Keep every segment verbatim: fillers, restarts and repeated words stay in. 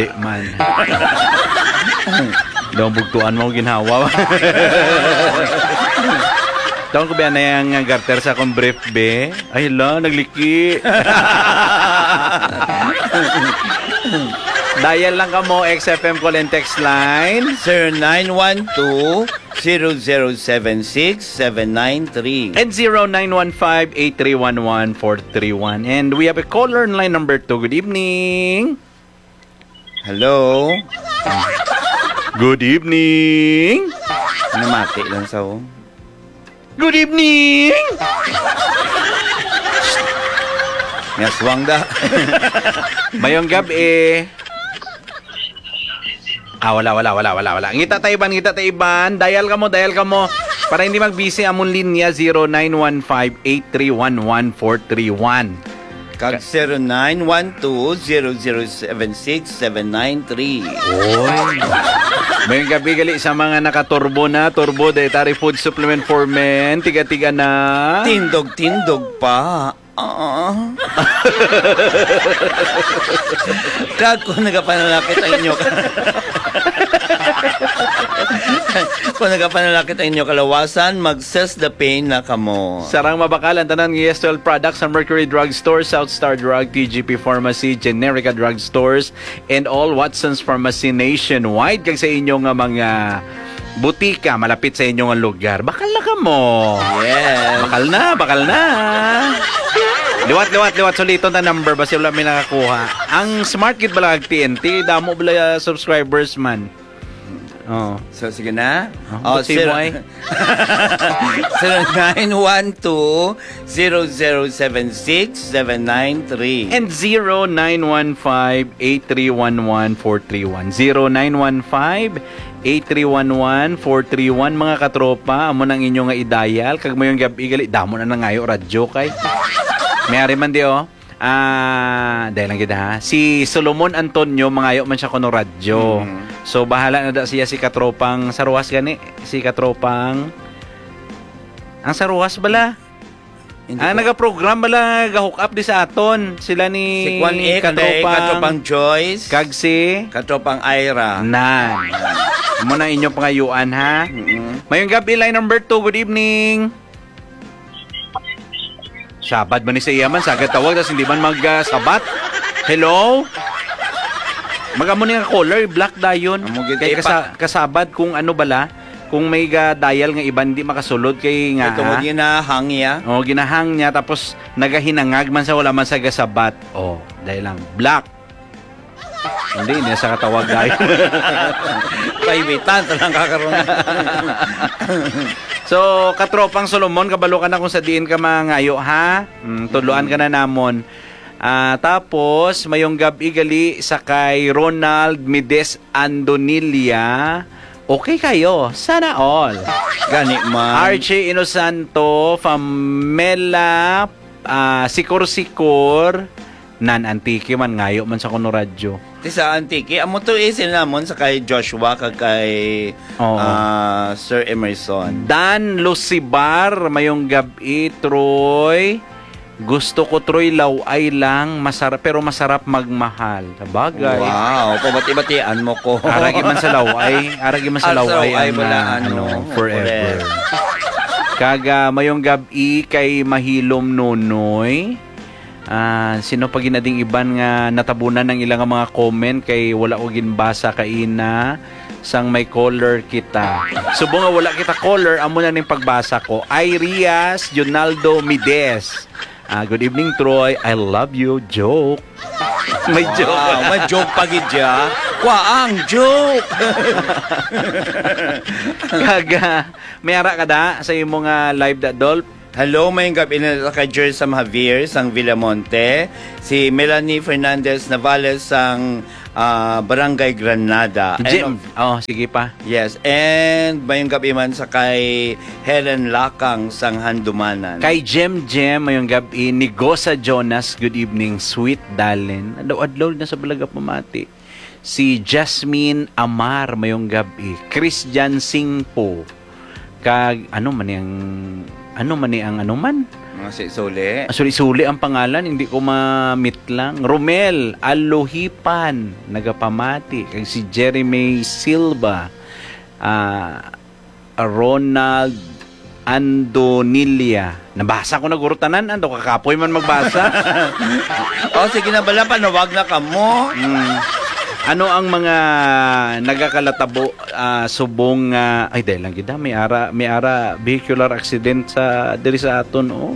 Di man. Daw bugtuan mo ginhawa. Taon ko ba na yung garter sa akong brief, be? Ay, la, nagliki. Dial lang ka mo, X F M call and text line. Zero nine one two, zero zero seven six, seven nine three. And zero nine one five, eight three one one, four three one. And we have a caller in line number two. Good evening. Hello? Good evening. Namati lang sa, oh. Good evening. Ngaswang da. Mayong gabi. Ah, wala, wala, wala, wala, wala. Ngita ta iban, ngita ta iban. Dial ka mo, dial ka mo. Para hindi mag-busy among linya, zero nine one five, eight three one one, four three one. Kag zero nine one two, zero zero seven six, seven nine three. Oy. Mayong gabi gali sa mga nakaturbo na, turbo dietary food supplement for men, tiga-tiga na. Tindog-tindog pa. Ah. Kag kung nagapanalakit ang inyo ka-, kung nagapanalakit ang inyo kalawasan, mag-Cess the Pain na kamo. Sarang mabakal ang tanan nga Yes Twelve products sa Mercury Drug Store, South Star Drug, T G P Pharmacy, Generica Drug Stores, and all Watson's Pharmacy nationwide. Kag sa inyo nga mga butika malapit sa inyo nga lugar, bakal na kamo. Yes. Bakal na, bakal na. Liwat, liwat, liwat. Suliton ta number, basi wala may nakakuha. Ang smart gid bala kag T N T, damo bala subscribers man. Oh. So, sige na. Ah, Oh, butsi mo zero, ay. Zero nine one two, zero zero seven six, seven nine three. And zero nine one five, eight three one one, four three one. Zero nine one five, eight three one one, four three one, mga katropa, amo nang inyo nga i-dial. Kag mayong gabi gali, damo na nangayo radyo kay. May ari man di, oh. Ah, dahil lang gid, ha. Si Solomon Antonio, mangayo man siya kuno radyo. Mm. So, bahala na da siya si katropang Saruas gani, si katropang, ang Saruas bala. Hindi Ah, ko nagaprogram bala, ga-hook up di sa aton. Sila ni Si Kwan, eh, kanday katropang katropang Joyce. Kag si Katropang Ira. Nan. Amo na inyong pangayuan, ha? Mm-mm. Mayong gabi, line number two. Good evening. Sabad man ni sa iya man, sagad tawag, tas hindi man mag, ah, sabat. Hello? Mag-amo ni nga caller, black dayon. Amo gid, Kay eh, kasa-, pa- kasabad kung ano bala, kung may ga-dial nga iban di makasulod kay nga, Kay tungod ah. ginahang niya. Oh, ginahang niya, tapos nagahinangag man sa wala man sa gasabat. Oh, dahil lang, black. Hindi niya sa katawag, guys. Kaibitan, talang kakaroon. So, katropang Solomon, kabalo ka na kung sa diin ka mangayo, ha? Mm, tudloan ka na namon. Ah, tapos, mayong gab-i gali sa kay Ronald Mides Andonilia. Okay kayo. Sana all. Gani man. Archie Inosanto, Famela, ah, Sikor-Sikor, Nan Antique man, ngayo man sa kuno radyo. Ti sa Antique, amo to eh, sila namon sa kay Joshua, kag kay, Oo. ah, Sir Emerson. Dan Lucibar, mayong gab-i, Troy. Gusto ko, Troy, laway lang, masarap, pero masarap magmahal. Sabagay. Wow, pabati-batian mo ko. Aragi man sa laway, aragi man sa Ah, sa laway laway ang, pala, ah, ano, ano, forever. Correct. Kag, ah, mayong gab-i kay Mahilom Nonoy. Ah, sino pa ginading iban nga natabunan ang ilang mga comment kay wala ko ginbasa kaina sang may caller kita. Subong nga wala kita caller, amo na ning pagbasa ko. Ay Rias, Junaldo Mides. Ah, "Good evening, Troy. I love you." Joke. May joke. Wow, may joke pa gid siya. Kwaang joke. Kag, ah, may ara ka da sa imo nga live da, Dolph? Hello, mayong gab-i na kay Jersam Javier sang Villamonte, si Melanie Fernandez Navales sang, ah, Barangay Granada. And Jim. of Oh, sige pa. Yes, and mayong gab-i man sa kay Helen Lakang sang Handumanan. Kay Jem Jem, mayong gab-i. Nigosa Jonas, good evening, sweet darling. Adlaw-adlaw na sa balaga pamati. Si Jasmine Amar, mayong gab-i. Christian Singpo. Kag, ano man ni ang, ano man ni ang ano man? Mga suli-suli. Ah, suli-suli ang pangalan, hindi ko mamitlang. Romel Alohipan, nagapamati. Kag si Jeremy Silva, ah, Ronald Andonilia. Nabasa ko na guro tanan, ano, kakapoy man magbasa. Oh, sige na bala, panawag na kamo. Mm. Ano ang mga nagakalatabo, ah, subong nga, ay, dahil lang gid, ah, may ara, may ara vehicular accident sa, diri sa aton, oh.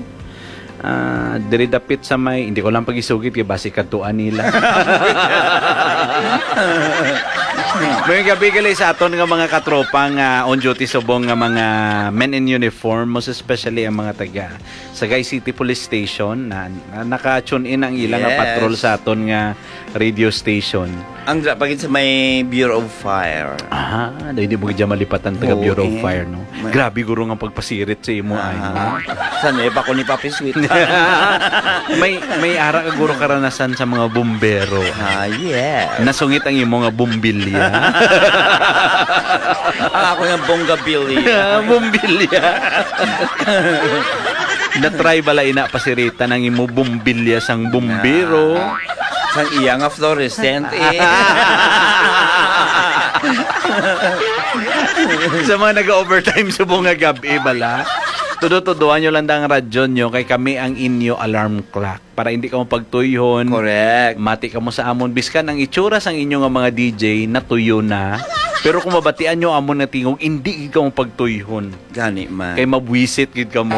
Ah, diri dapit sa may, hindi ko lang pag-isugit kay basi kadtuan nila. May gabi gali sa aton nga mga katropa nga on duty subong nga mga men in uniform, most especially ang mga taga Sagay City Police Station na, na naka-tune in ang ilang nga Yes. patrol sa aton nga radio station. Ang dra-, pagid sa may Bureau of Fire. Ah, dahil di mo gid malipatan taga Oo, Bureau of eh. Fire, no? Ma- Grabe guro nga pagpasirit sa imo, ay, no? Ah. San eh, pa ko ni Papi Sweet? May, may ara ka guro karanasan sa mga bumbero. Ah, yes. Nasungit ang imo nga bumbilya. Ang ako nga bonggabilya. Bumbilya. Na-try bala ina pasiritan ang imo bumbilya sang bumbero? Ah. Sang iya nga fluorescent, eh. Sa mga nag-overtime subong nga gab-i bala, tudo-tudoan nyo lang ang radyo nyo kay kami ang inyo alarm clock para hindi kamo pagtuyhon. Correct. Mati kamo sa amon. Biskan ang itsura sang inyo nga mga D J natuyo na. Pero kung mabatian nyo amon nga tingog, hindi gid kamo pagtuyhon. Gani man. Kay mabwisit gid kamo.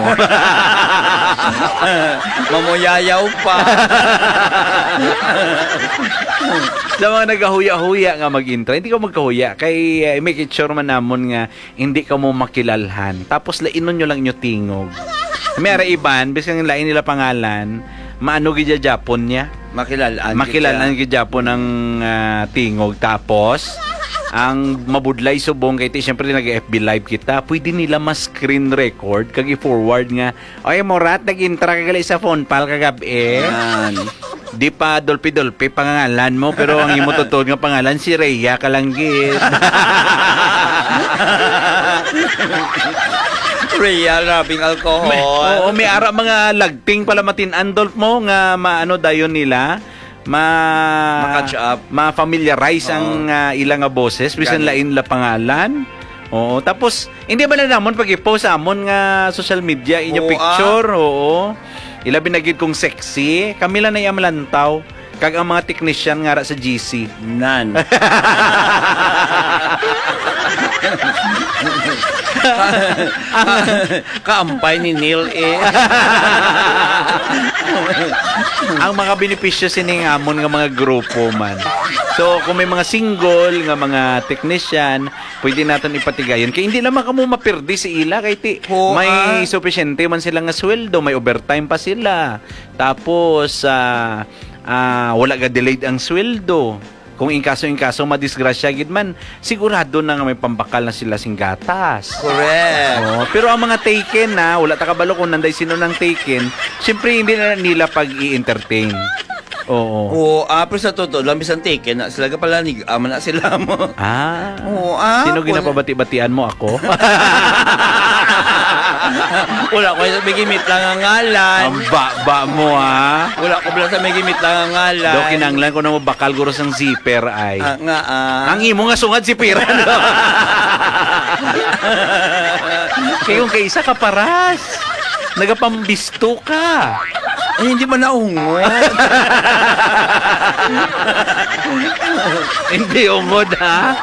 Mamuyayaw pa. Sa mga nagahuya-huya nga mag-intra, hindi ko magkahuya. Kay, eh, make it sure man namon nga hindi kamo makilalhan. Tapos lainon nyo lang inyo tingog. May ara iban, bisan lain nila pangalan, maano gid ya Japon niya. Makilalan gid Makilalan siya. gid Japon ang, ah, tingog. Tapos, ang mabudlay subong kay ti, siyempre, nag-F B live kita. Pwede nila mas screen record kag i-forward nga, "Oy, Morat, nag-intra ka gali sa phone pal kagab-i." Yan. Di pa dulpi-dulpi pangangalan mo, pero ang imo totoo nga pangalan si Rhea ka lang gid. Rhea, rubbing alcohol. May, oo, may ara mga lagting pala matin-andol mo nga maano dayon nila, ma Ma-catch up. ma-familiarize ang, Oo. ah, ila nga boses, bisan Gani. lain la pangalan. Oo, tapos hindi ba na namon pag-i-post sa amon nga social media inyo Oo, picture? ah. Oo. Ilabi na gid kung sexy, kami lang na iya malantaw. Kag ang mga technician nga ra sa G C. Nan. Ka-, ka-, kaampay ni Neil, eh. Ang mga benepisyo sining amon nga mga grupo man. So, kung may mga single nga mga technician, pwede naton ipatigayon. Kay hindi naman kamo mapirdi si ila. Kay ti, Oo, may ah. sufisyente man sila nga sweldo, may overtime pa sila. Tapos, ah, ah, wala ga delayed ang sweldo. Kung in kaso, in kaso, madisgrasya gid man, sigurado na nga may pambakal na sila sing gatas. Correct. Oo, pero ang mga taken na, wala ta kabalo kung nanday sino nang taken, siyempre hindi na nila pag-i-entertain. Oo. Oo, ah, pero sa totoo lang, bisan taken na sila, kapalanig, ama na sila mo. Ah. Oo, ah, Sino kung ginapabati-batian mo, ako? Wala ko sa may gimit lang ang ngalan. Ang baba mo, ah. Wala ko bala sa may gimit lang ang ngalan. Do, kinanglan ko na mo bakal guro sang zipper ay. Ah, nga, ah. Ang imo nga sungad si Piran. Kay yung kay isa ka paras. Nagapambisto ka. Ay, hindi man naungot. Hindi ungod, ha?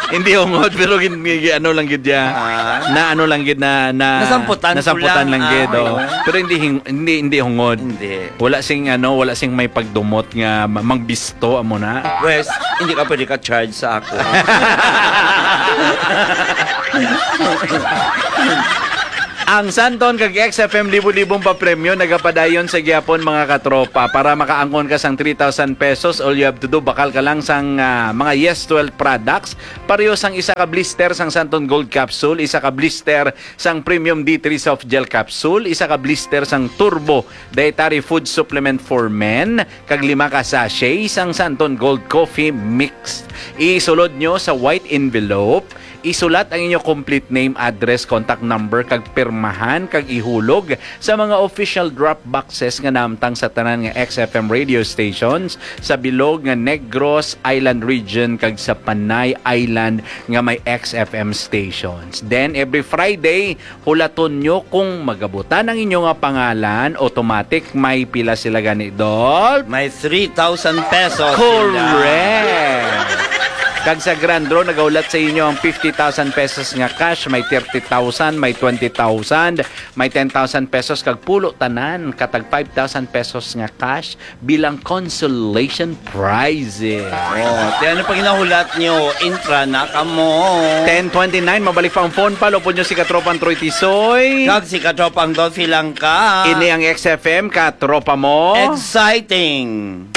Hindi ungod, pero gin-, gi-, ano lang gid ya. Ah. Na ano lang gid na, na Nasamputan ko nasamputan lang. lang gid, Ah, oh. oo. Pero hindi hing-, hindi, hindi hungod. Hindi. Wala sing, ano, wala sing may pagdumot nga ma-, mangbisto, amo na. Wes, hindi ka pwede ka-charge sa ako. Ang Santon kag X F M libo-libong papremyo nagapadayon sa gihapon, mga katropa. Para makaangkon ka sang three thousand pesos, all you have to do, bakal ka lang sang, ah, mga Yes twelve products. Pareho sang isa ka blister sang Santon Gold Capsule, isa ka blister sang Premium D three Soft Gel Capsule, isa ka blister sang Turbo Dietary Food Supplement for Men, kag lima ka sachet sang Santon Gold Coffee Mix. Isulod nyo sa white envelope Isulat ang inyo complete name, address, contact number, kag pirmahan kag ihulog sa mga official drop boxes nga naamtang sa tanan nga X F M radio stations sa bilog nga Negros Island region kag sa Panay Island nga may X F M stations. Then, every Friday, hulaton nyo kung magabutan ang inyo nga pangalan, automatic may pila sila gani, Dol? May three thousand pesos. Correct! Kag sa Grand Draw, nagahulat sa inyo ang fifty thousand pesos nga cash, may thirty thousand, may twenty thousand, may ten thousand pesos, kag pulo tanan, katag five thousand pesos nga cash bilang consolation prizes. Oh, di ano pa ginahulat nyo? Intra na kamo. Ten twenty-nine, mabalik pa ang phone pa. Lupod nyo si Katropang Troy Tisoy. Kag si Katropang Dolphy Langka. Ini ang X F M, Katropa Mo. Exciting.